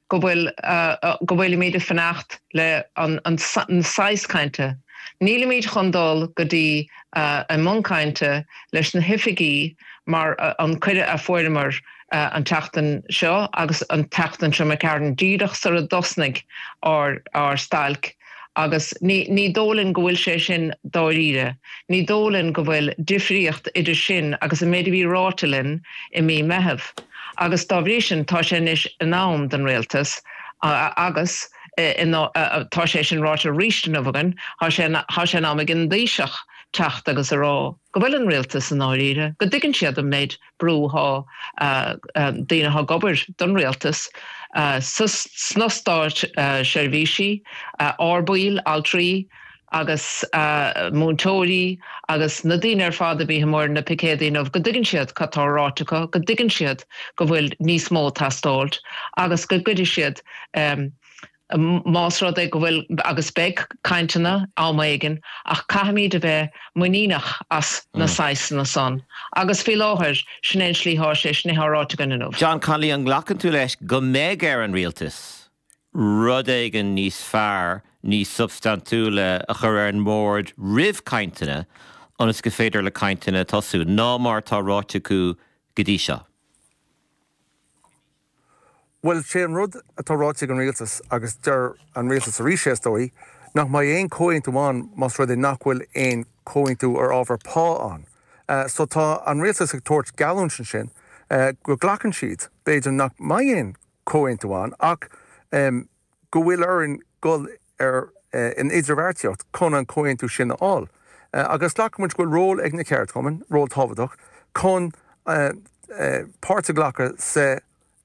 Go bhfuil, go bhfuilimid ag fanacht le an saghas cainte. Nílimid chun dul go dtí i mbun cainte leis na hoifigí mar an cuireadh a fuaireamar an tseachtain seo agus an tseachtain seo imigh tharainn díreach sar a dtosnaigh ár stailc agus ní ní dóigh linn go bhfuil sé sin dáiríre. Ní dóigh linn go bhfuil difríocht idir sin agus an méid a bhí ráite linn i mí Meitheamh. Agus dá bhrí sin tá sé anois in am don Rialtas agus tá sé sin ráite arís inniu againn, tá sé tá sé in am ag an dTaoiseach teacht agus a rá go bhfuil an Rialtas i ndáiríre, go dtuigeann siad an méid brú thá daoine thá ag obair don Rialtas sna státseirbhísí, ár baill, altraí agus múinteoirí agus na daoine ar fad a bhí amuigh ar na picéadaí inniu, go dtuigeann siad cad tá ráite acu, go dtuigeann siad go bhfuil níos mó ag teastáilt agus go gcuirfidh siad más rud é go bhfuil, agus beidh cainteanna am éigin, ach caithfimid a bheith muiníneach as na saghasanna san. Agus faoi láthair, sin é an slí thá sé, sin é thá ráite againn inniu. John Connolly, an nglacann tú leis go mbeidh ar an Rialtas rud éigin níos fearr, níos substaintiúla a chur ar an mbord roimh cainteanna ionas go féidir le cainteanna tosú, ná mar atá ráite acu go dtí seo? Bhuel, sé an rud atá ráite ag an Rialtas, agus deir an Rialtas arís é is dóigh, nach mbeidh aon chomhaontú ann más rud é nach bhfuil aon chomhaontú ar ábhar pá ann. So tá an Rialtas ag tabhairt geallúint ansin go nglacann siad, b'fhéidir nach mbeidh aon chomhaontú ann ach go bhfuil orainn dul ar in idirbheartaíocht chun an comhaontú sin a fháil. Agus glacann muid go bhfuil ról ag na ceardchumainn, ról tábhachtach, chun páirt a ghlacadh sa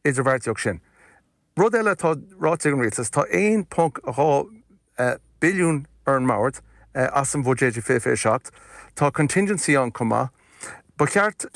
idirbheartaíocht sin. Rud eile atá ráite ag an Rialtas, tá 1.2 billiún ar an mbord as an bhuiséad 2027. Tá contingency ann chomh maith. Ba cheart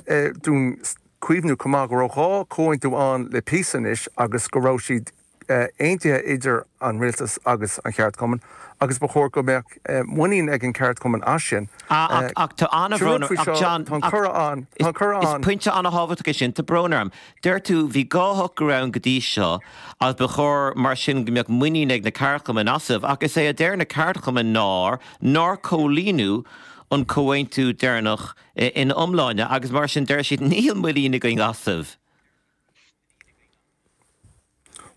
dúinn cuimhniú chomh maith go raibh 2 chomhaontú ann le píosa anois agus go raibh siad aontaithe idir an rialtas agus an cheardchumann agus ba chóir go mbeadh muinín ag an cheardchumann as sin. Ach ach tá an-bhrón orm, ach John, tá an cuireadh ann, tá an cuireadh ann. Is pointe an-thábhachtach é sin, tá brón orm. Deir tú, bhí 2 shocrú ann go dtí seo agus ba chóir mar sin go mbeadh muinín ag na ceardchumainn asaibh ach is é a deir na ceardchumainn ná nár comhlíonadh an comhaontú deireanach ina iomláine agus mar sin deir siad níl muinín againn asaibh.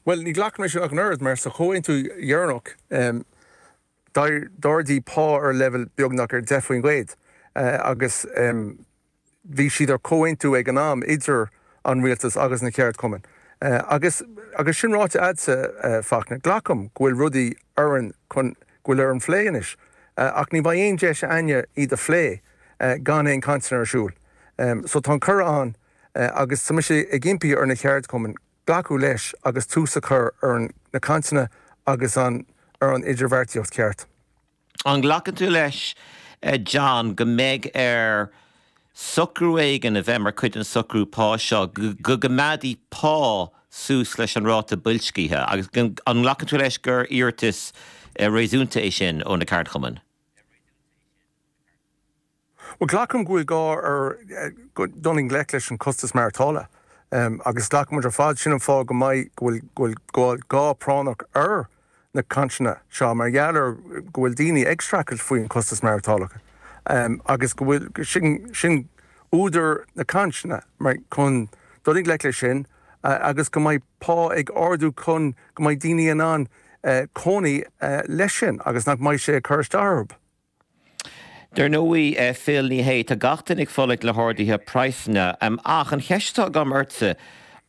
Bhuel, ní ghlacaim leis sin ach an oiread, mar sa chomhaontú dheireanach, d'ardaigh pá ar leibhéal beagnach ar 10% agus bhí siad ar comhaontú ag an am idir an rialtas agus na ceardchumainn. Agus agus sin ráite a'dsa, Fachtna, glacaim go bhfuil rudaí orainn chun, go bhfuil ar an phlé anois, ach ní bheidh aon deis a'inne iad a phlé gan aon cainteanna ar siúl. So tá an cuireadh ann agus tá mise ag impí ar na ceardchumainn glacadh leis agus tús a chur ar na cainteanna agus an ar an idirbheartaíocht cheart. An nglacann tú leis, John, go mbeidh ar socrú éigin a bheith mar chuid den socrú pá seo, go gcoimeádfaí pá suas leis an ráta boilscithe agus an nglacann tú leis gur iarratas réasúnta é sin ó na ceardchumainn? Bhuel, glacaim go bhfuil gá ar dul i ngleic leis an costas maireachtála agus glacann muid ar fad, sin an fáth go mbeidh, go bhfuil, go bhfuil gá práinneach ar na cainteanna seo mar gheall ar go bhfuil daoine ag streachailt faoin costas maireachtála agus go bhfuil, sin, sin údar na cainteanna mar chun dul i ngleic leis sin agus go mbeidh pá ag ardú chun go mbeidh daoine in ann cónaí leis sin agus nach mbeidh sé ag cur isteach orthu. Dar ndóigh, Phil, ní hé, tá gach duine ag fulaingt le harduithe praghsanna. Ach an cheist atá agam ortsa,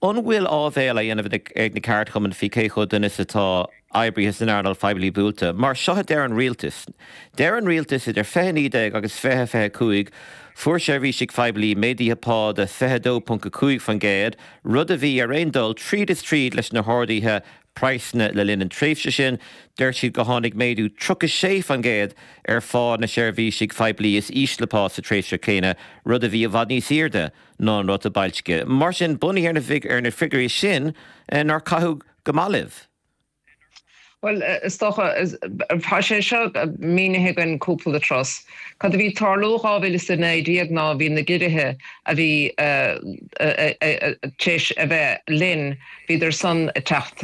an bhfuil áibhéil á dhéanamh ag na ceardchumainn faoi cé chomh dona is atá oibrithe san earnáil phoiblí buailte? Mar seo a deir an rialtas. Deir an rialtas idir 2019 agus 2025 fuair seirbhísigh phoiblí méaduithe pá de 22.5%, rud a bhí ar aon dul tríd is tríd leis na harduithe praghsanna le linn an tréimhse sin. Deir siad go tháinig méadú 36% ar phá na seirbhísigh phoiblí is ísle pá sa tréimhse céanna, rud a bhí i bhfad níos airde ná an ráta boilscithe. Mar sin, bunaithe ar na figiúirí sin, nár caitheadh go maith libh? Bhuel, is dócha, tá sé seo mínithe againn cúpla turas. Cad a bhí ag tarlú 2019 ná bhí na giorruithe a bhí tar éis a bheith linn, bhíodar san ag teacht.